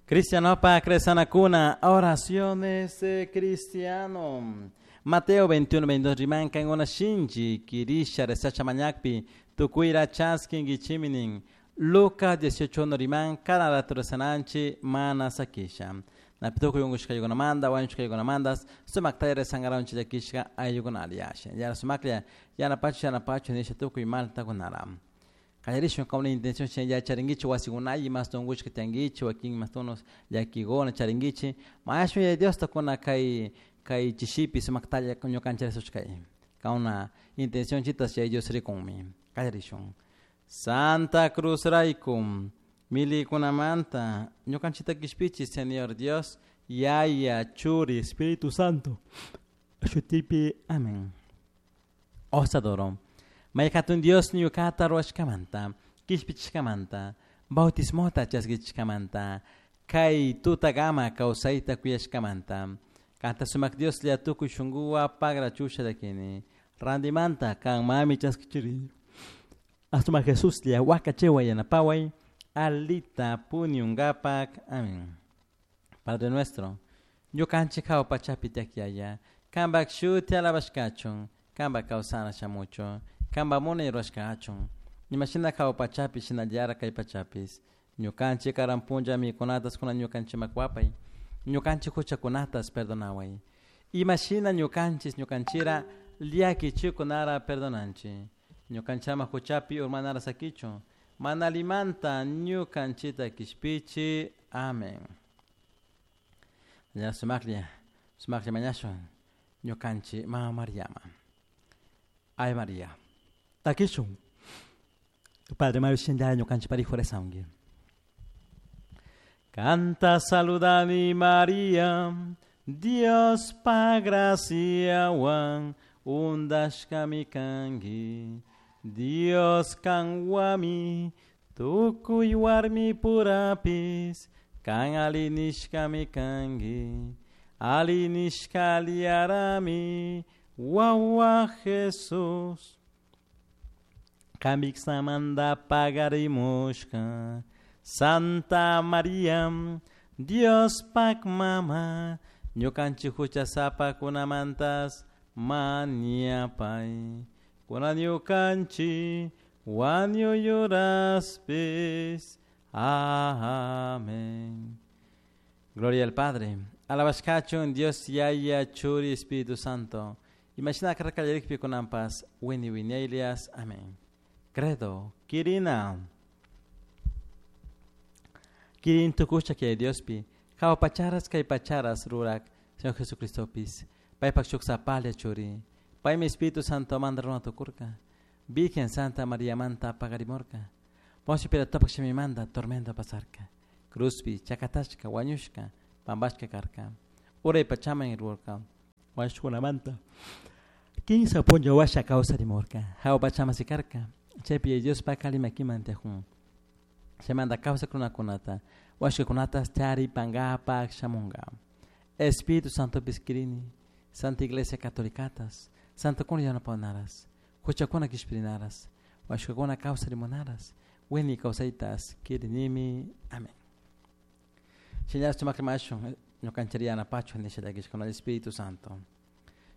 Cristianopa cresanakuna, oraciones de cristiano. Mateo 21, 22 riman kankuna shinchi kirisha resacha mañakpi tukuyra chaskinkichiminin. Lucas 18 1 riman cada rato resananchi mana sakisha. Napi tukuy unkushkaykunamanta wañushkaykunamantas sumaktalla resankaranchik llakishka ayllukunalla yasha. Yana sumaklla yanapachu yanapachu nisha tukuy maltakunara. Qallarishun kawna intención chay charinkichik wasikunalla imasta unkushka tiyankichik wakin imasta llakikuna charinkichik mañashun Yaya Diosta kuna kay kay chishipi sumaktalla ñukanchik risushkay kawna intención chitas Yaya Dios rikunmi. Qallarishun. Santa Cruz rayku milikunamanta ñukanchikta kishpichi Señor Dios Yaya Churi Espíritu Santo shutipi. Amén. Osadoro. May hatun Dios ñukata ruwashkamanta, kishpichishkamanta, bautismota chaskichishkamanta, kay tutakama kawsayta kuyashkamanta. Kanta sumak Dioslla tukuy shunkuwa pagrachusha llakini. Randimanta kan mami chaskichiri. Asumak Jesuslla wakachewa yanapaway, alita puñunkapak. Amén. Padre nuestro, ñukanchik hawa pachapi tiyak Yaya, kanpak shuti alabashkachun, kanpak kawsana shamuchun, kanpak munay rurashka kachun. Imashina hawa pachapi shinallara kay pachapis. Ñukanchik karan punlla mikunatas kunan ñukanchikman wapay. Ñukanchik huchakunatas perdonaway. Imashina ñukanchis ñukanchira llakichikunara perdonanchik. Ñukanchama huchapi urmanara sakichun. Mana allimanta ñukanchita kishpichi. Amén. Ya sumaklla, sumaklla mañashun ñukanchik mama Mariama. Ay María. Takishun. Padre Mario shinlla ñukanchik parijo rezanki. Kanta saludani María, Dios pa graciawan undashkami kanki. Dios kanwami tukuy warmi purapis kan alli nishkami kanki. Ali nishka aliyarami wawa Jesús. Kamiksamanta pagarimushka. Santa María, Dios pak mama, ñukanchik huchasapakunamantas mañapay. Kuna ñukanchik wañuyuraspis. Amén. Gloria al Padre. Alabashkachun Dios Yaya Churi Espíritu Santo. Imashina karkallarikpi kunanpas wini wiñaylias. Amén. Credo. Kirina. Kirin tukusha kay Diospi. Hawa pacharas kay pacharas rurak. Señor Jesucristopis. Paypak shuk sapalla churi. Paymi Espíritu Santo manta runa tukurka. Virgen Santa María manta pagarimurka. Poncio Pilatopak shimimanta tormento pasarka. Cruzpi chakatashka wañushka pampashka karka. Uray pachaman urkurka. Wañushkunamanta. Kinsa punlla washa kawsarimurka. Hawa pachaman sikarka. Chaypi Diospak alli makiman tiyakun. Chaymanta kawsak runakunata wañushkakunatas charipankapak shamunka. Espíritu Santopis kirini, Santa Iglesia Catolicatas, Santokuna yanapanaras, huchakuna kishpirinaras, wañushkakuna kawsarimunaras, wini kawsaytas kirinimi. Amén. Shinllatak sumak rimashun ñukanchik yanapachun nisha llakishkuna Espíritu Santo.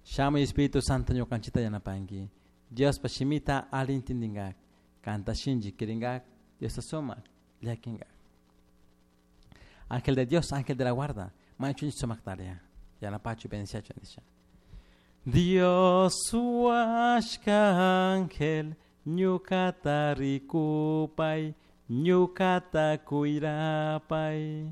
Shamuy Espíritu Santo ñukanchikta yanapanki. Diospa shimita alli intindingak, kanta shinchi kiringak, Diosta sumak llakinkak. Ángel de Dios, ángel de la guarda, mañachunchik sumaktaria, yanapachu bendiciachu nisha. Dios washka ángel, ñukata rikupay, ñukata kuyrapay.